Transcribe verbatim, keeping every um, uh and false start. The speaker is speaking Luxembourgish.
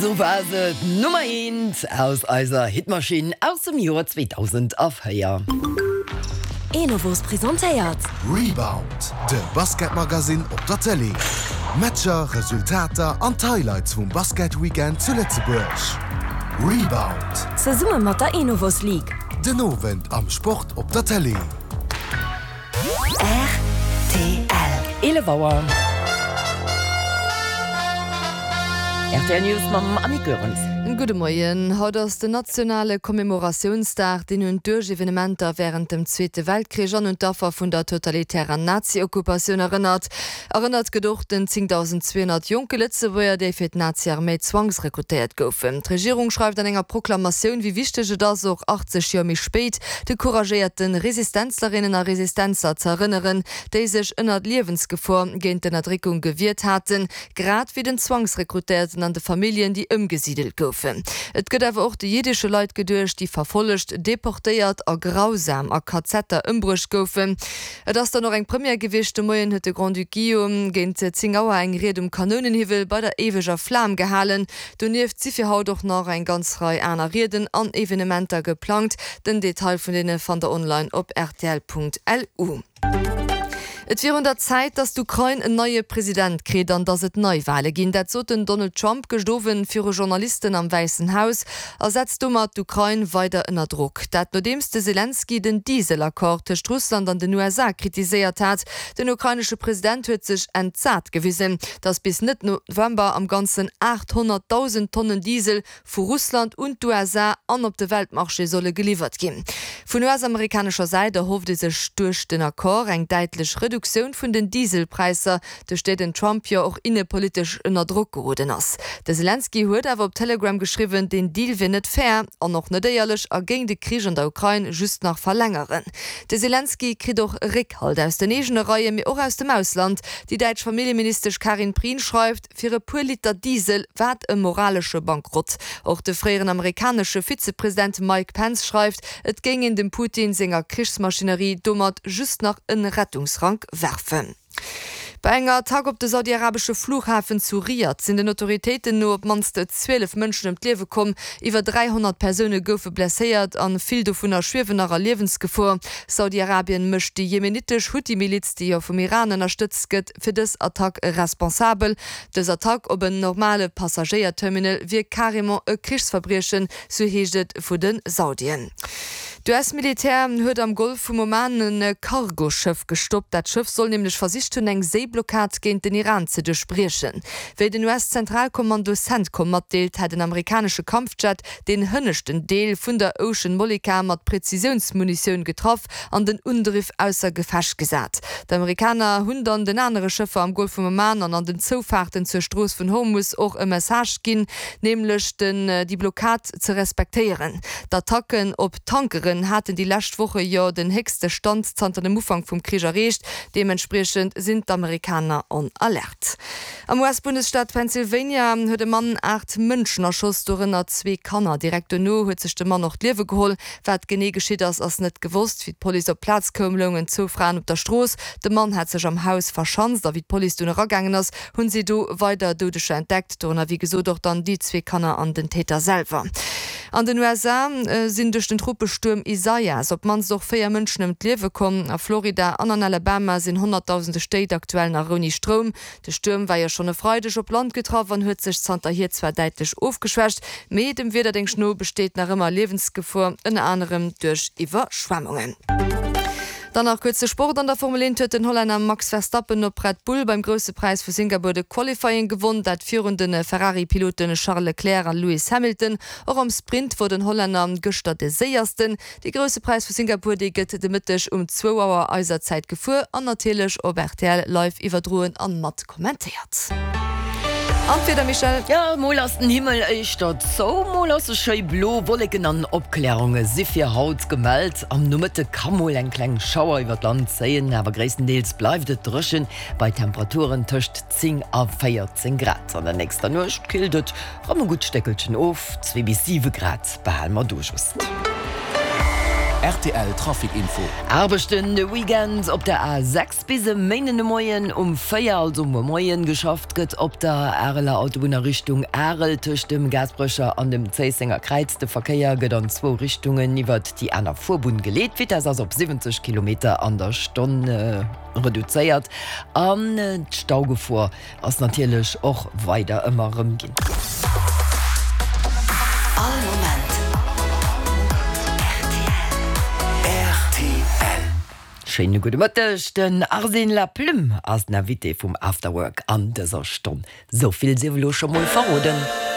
Sou war se, d'Nummer eent aus eiser Hitmaschinn aus dem Joer zweedausendvéier. Enovos presentéiert. Rebound, de Basketmagazin op der Tëlee. Matcher, Resultater an d'Highlights vum Basketweekend zu Lëtzebuerg. Rebound. Zesumme mat der Enovos League. Den Owend am Sport op der Tëlee. Rtl. Eelef Auer. Rtl News mam Annick Goerens. Gudde Moien. Haut ass den nationale Commemoratiounsdag, deen un d'Uerg-Evenementer wärend dem Zweete Weltkrich an un d'Affer vun der totalitärer Nazi-Okkupatioun erënnert. Erënnert gëtt och den zéngtausendzweehonnert jonke Lëtzebuerger, déi fir d'Nazi-Arméi zwangsrekrutéiert goufen. D'Regierung schreift an enger Proklamatioun, wéi wichteg et ass, och achtzeg Joer méi spéit, de couragéierte Resistenzlerinnen a Resistenzler ze erënneren, déi sech ënnert Liewensgefor géint d'Ënnerdréckung gewiert haten, grad wéi den Zwangsrekrutéierten an de Familljen, déi ëmgesidelt goufen. Et gëtt awer och de jiddesche Leit geduecht, déi verfollegt, deportéiert a grausam a Kazetter ëmbruecht goufen. Et ass dann och eng Première gewiescht, De Moien huet de Grand-Duc Guillaume géint zéng Auer eng Ried um Kanounenhiwwel bei der Éiweger Flam gehalen. Donieft si fir haut och nach eng ganz Rei aner Rieden an Evenementer geplangt. Den Detail vun deene fannt der online op rtl.lu. Et wier un der Zäit, datt d'Ukrain en neie President kritt an datt et Neiwale ginn. Dat sot den Donald Trump gëscht Owend viru Journalisten am Wäissen Haus a setzt domat d'Ukrain weider ënner Drock. Dat nodeems de Selenskyj den Diesel-Accord tëscht Russland an den U S A kritiséiert hat. Den ukrainesche President huet sech entsat gewisen, datt bis Mëtt November am Ganzen aathonnertdausend Tonnen Diesel vu Russland un d'U S A an op de Weltmarché solle geliwwert ginn. Vun U S-amerikanescher Säit erhofft ee sech duerch den Accord eng däitlech Reduktioun vun den Dieselpräisser, duerch déi den Trump jo och innepolitesch ënner Drock geroden ass. De Selenskyj huet awer op Telegram geschriwwen, den Deal wier net fair an och net éierlech a géing de Krich an der Ukrain just nach verlängeren. De Selenskyj kritt och Réckhalt aus den eegene Reien, mee och aus dem Ausland. Déi däitsch Familljeministesch Karin Prien schreift, Fir e puer Liter Diesel, wat e moralesche Bankrott. Och de fréieren amerikanesche Vizepresident Mike Pence schreift, et géing een dem Putin senger Krichsmaschinerie domat just nach e Rettungsrank werfen. Bei enger Attack op de saudi-arabesche Flughafen zu Riad sinn den Autoritéiten no op d'mannst zwielef Mënschen ëm d'Liewe komm. Iwwer dräihonnert Persoune goufe blesséiert a vill dovunner schwiewen nach a Liewensgefor. Saudi-Arabien mécht déi jemenitesch Huthi-Miliz, déi jo vum Iran ënnerstëtzt gëtt, fir dës Attack responsabel. Dës Attack op en normale Passagéierterminal wier carrément e Krichsverbriechen, sou heescht et vu de Saudien. D'U S-Militär huet am Golf vum Oman e Cargoschëff gestoppt. Dat Schëff soll nämlech versicht hunn, eng Séiblockad géint den Iran ze duerchbriechen. Wéi den U S-Zentralkommando Centcom matdeelt, hätt en amerikanesche Kampfjet deen hënneschten Deel vun der Ocean Molika mat Prezisiounsmunitioun getraff an den Undriff ausser Gefecht gesat. D'Amerikaner hunn dann den anere Schëffer am Golf vum Oman an an den Zoufaarten zur Strooss vun Hormus och e Message ginn, nämlech den déi Blockad ze respektéieren. D'Attacken op Tankeren haten déi lescht Woche jo den héchste Stand zanter dem Ufank vum Krich erreecht. Deementspriechend sinn d'Amerikaner on Alerte. Am U S-Bundesstaat Pennsylvania huet e Mann aacht Mënschen erschoss, dorënner zwee Kanner. Direkt dono huet sech de Mann och d'Liewe geholl. Wat genee geschitt ass, ass net gewosst. Wéi d'Police op d'Plaz koum, loungen zwou Fraen op der Strooss. De Mann hat sech am Haus verschanzt a wéi d'Police dunn eragaangen ass, hunn si do weider Doudeger entdeckt, dorënner wéi gesot och dann déi zwee Kanner an den Täter selwer. An den U S A sinn duerch den Tropestuerm Isaias op d'mannst och véier Mënschen ëm d'Liewe komm. A Florida an an Alabama sinn honnertdausende Stéit aktuell nach ouni Stroum. De Stuerm war jo schonn e Freideg op Land getraff an huet sech zanterhier zwar däitlech ofgeschwächt, mee dem Wiederdéngscht no besteet nach ëmmer Liewensgefor, ënner anerem duerch Iwwerschwemmungen. Dann nach kuerz de Sport, An der Formel eent huet den Hollänner Max Verstappen op Red Bull beim Grousse Präis vu Singapur de Qualifying gewonn, dat virun de Ferrari-Pilote Charles Leclerc a Lewis Hamilton. Och am Sprint wor den Hollänner gëschter de Séiersten. De Grousse Präis vu Singapur, dee gëtt de Mëtteg um zwou Auer eiser Zäit gefuer an natierlech op R T L live iwwerdroen an mat kommentéiert. An d'Wieder, Michèle? Jo, mol ass den Himmel éischter zou, mol ass e schéi blo. Wolleken an Opklärunge si fir haut gemellt. Am Nomëtte ka mol eng kleng Schauer iwwer d'Land zéien, awer gréisstendeels bleift et dréchen bei Temperaturen tëscht zéng a véierzéng Grad. An der nächster Nuecht killt et rëm e gutt Stéckelchen of, zwee bis siwe Grad behale mer do just. Rtl Trafic Info. Aarbechten de Weekend op der A sechs bis e Méinden de Moien um véier, also muer Moien. Geschafft gëtt op der Areler Autobunn a Richtung Arel tëscht dem Gaasperecher an dem Zéissenger Kräiz. De Verkéier gëtt an zwou Richtungen iwwert déi aner Fuerbunn geleet. D'Vitess ass op siwwenzeg Kilometer an der Stonn reduzéiert an d'Staugefor ass natierlech och weider ëmmer erëm ginn. All Moment rtl. Schéine gudde Mëtteg, den Arsène Laplume ass den Invité vum After Work an dëser Stonn. Sou vill sief elo scho mol verroden.